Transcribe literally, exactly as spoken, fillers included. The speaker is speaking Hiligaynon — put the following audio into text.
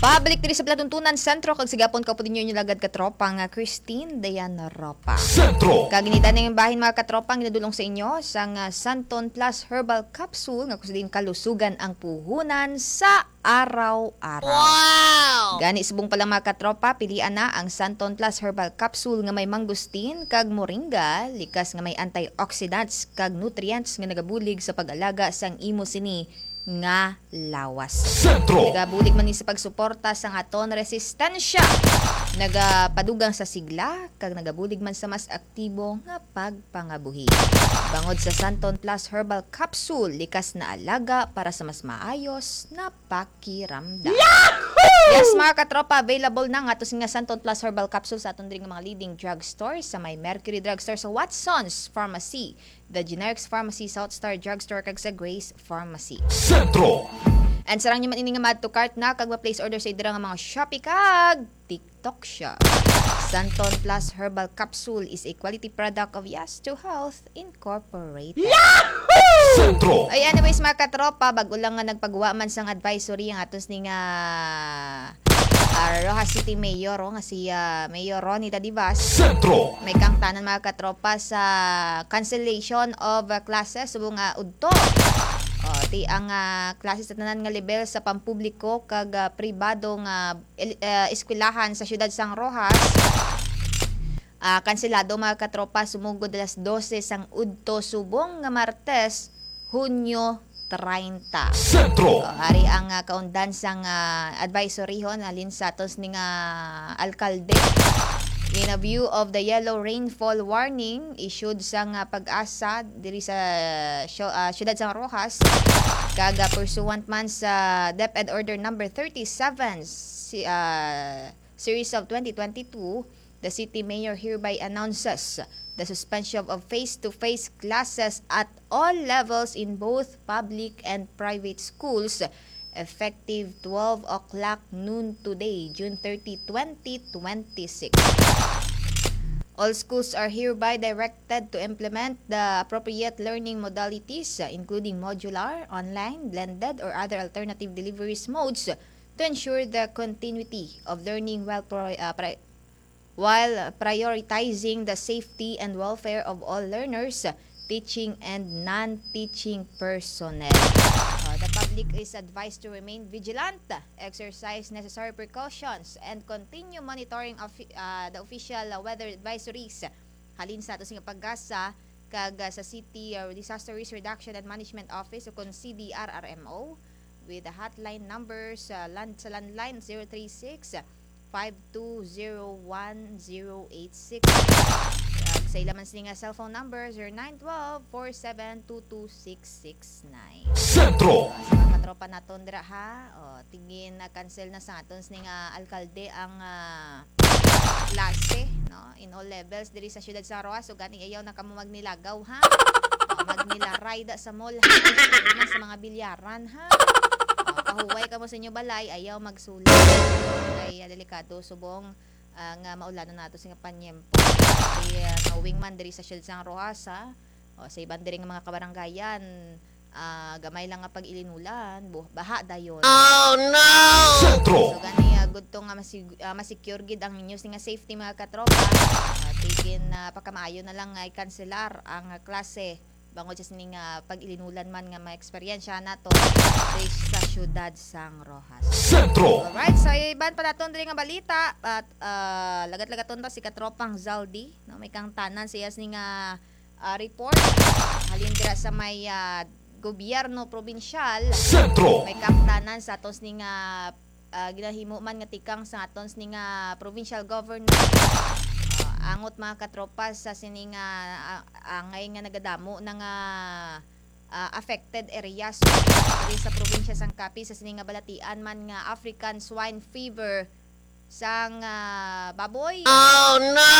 Pabalik diri sa Palatuntunan Sentro, kag sa gihapon kaupod ninyo inyo lagad katropa nga Christine Dayan Ropa. Sentro. Kag ini danay bahin, mga katropa, ang ginadulong sa inyo sang, ah, Santon Plus Herbal Capsule, nga kuno sa diin kalusugan ang puhunan sa araw-araw. Wow! Gani, subong pa lang, mga katropa, pilian na ang Santon Plus Herbal Capsule nga may mangosteen kag moringa, likas nga may antioxidants kag nutrients nga nagabulig sa pag-alaga sang imo sini nga lawas. Sentro. Nagabulig man ni sa pagsuporta sang aton resistensya, nagapadugang sa sigla, kag nagabulig man sa mas aktibo nga pagpangabuhi. Bangod sa Santon Plus Herbal Capsule, likas na alaga para sa mas maayos na pakiramdam. Yahoo! Yes, mga katropa, available na nga ato sini nga Santon Plus Herbal Capsule sa aton diri nga mga leading drugstore, sa may Mercury Drugstore, sa Watson's Pharmacy, The Generics Pharmacy, South Star Drugstore, kag sa Grace Pharmacy. Sentro. And sarang nyo man ini nga ma-add to cart na kag ma-place order sa ira nga mga Shopee kag TikTok Shop. Santon Plus Herbal Capsule is a quality product of Yes to Health Incorporated. Sentro. Ay, anyways, mga katropa, bag-o lang nga nagpagawa man sang advisory ang aton sini nga, ah, Roxas City Mayor, oh, nga si, ah, Mayor Ronnie Dadivas. Sentro. May kangtanan, mga katropa, sa cancellation of, ah, classes subong nga udto. Oh, ti ang, ah, classes sa tanan nga level sa pampubliko kag, ah, pribado nga el-, ah, eskwelahan sa siyudad sang Roxas. Ah, kanselado, mga katropa, sumugod alas dose sang udto subong nga Martes, Hunyo treinta. Sentro. Oh, ari ang, ah, kaundan sang, ah, advisory hon halin sa aton sini nga alkalde. In a view of the yellow rainfall warning issued sang, ah, PAGASA diri sa syo-, ah, siyudad sang Roxas, kag, ah, pursuant man sa DepEd Order Number thirty-seven, si, ah, Series of twenty twenty-two, the city mayor hereby announces the suspension of face-to-face classes at all levels in both public and private schools, effective twelve o'clock noon today, June thirty, twenty twenty-six. All schools are hereby directed to implement the appropriate learning modalities, uh, including modular, online, blended, or other alternative deliveries modes to ensure the continuity of learning while pro-, uh, pri-, while prioritizing the safety and welfare of all learners, teaching and non-teaching personnel. Uh, the public is advised to remain vigilant, exercise necessary precautions, and continue monitoring of, uh, the official, uh, weather advisories halin sa ato sing PAGASA kag, uh, sa City, uh, Disaster Risk Reduction and Management Office, o kon C D R R M O, with the hotline numbers, uh, land, sa landline, zero three six, five two zero one zero eight six. Kag sa ila man sini nga cellphone number, zero nine twelve, four seven two two six six nine. Sentro. Sa mga katropa naton dira, ha, o, tingin na cancel na sa aton sini nga alkalde ang, ah, klase, no, in all levels diri sa siyudad sa Roxas. So gani, ayaw na kamo magnilagaw, ha. O, magnilaray da sa mall, ha. Sa mga bilyaran, ha. O, pahuway kamo sa inyo balay, ayaw magsulod. Kay, ah, delikado subong, ah, nga maulanon nato sini nga panyempo. Kay, ah, nga wingman diri sa siyudad sang Roxas, ha. O, sa iban diri nga mga kabarangayan, ah, gamay lang nga pag-ilinulan, bu-, baha dayon. Oh, no! Sentro. So gani, ah, gudto nga masig-, ah, masecure gid ang inyo sini nga safety, mga katropa. Ah, tigin, ah, pakamaayo na lang nga i-kanselar ang, ah, klase bangod sa sini nga pag-ilinulan man nga maeksperiensya nato diri sa siyudad sang Roxas. Sentro. Alright, sa iban pa naton diri nga balita, at, ah, lagat-lagaton ta si katropang Zaldi, no? May kangtanan siya sini nga, ah, report halin dira sa may, ah, gobyerno probinsyal. Sentro. May kangtanan sa aton sini nga, ah, ginahimo man nga tikang sa aton sini nga provincial government. Ah, angot, mga katropa, sa sini nga, ah, angay nga nagadamo na nga, ah, affected areas diri sa probinsya sang Capiz sa sini nga balatian man nga African swine fever sang, ah, baboy. Oh, no!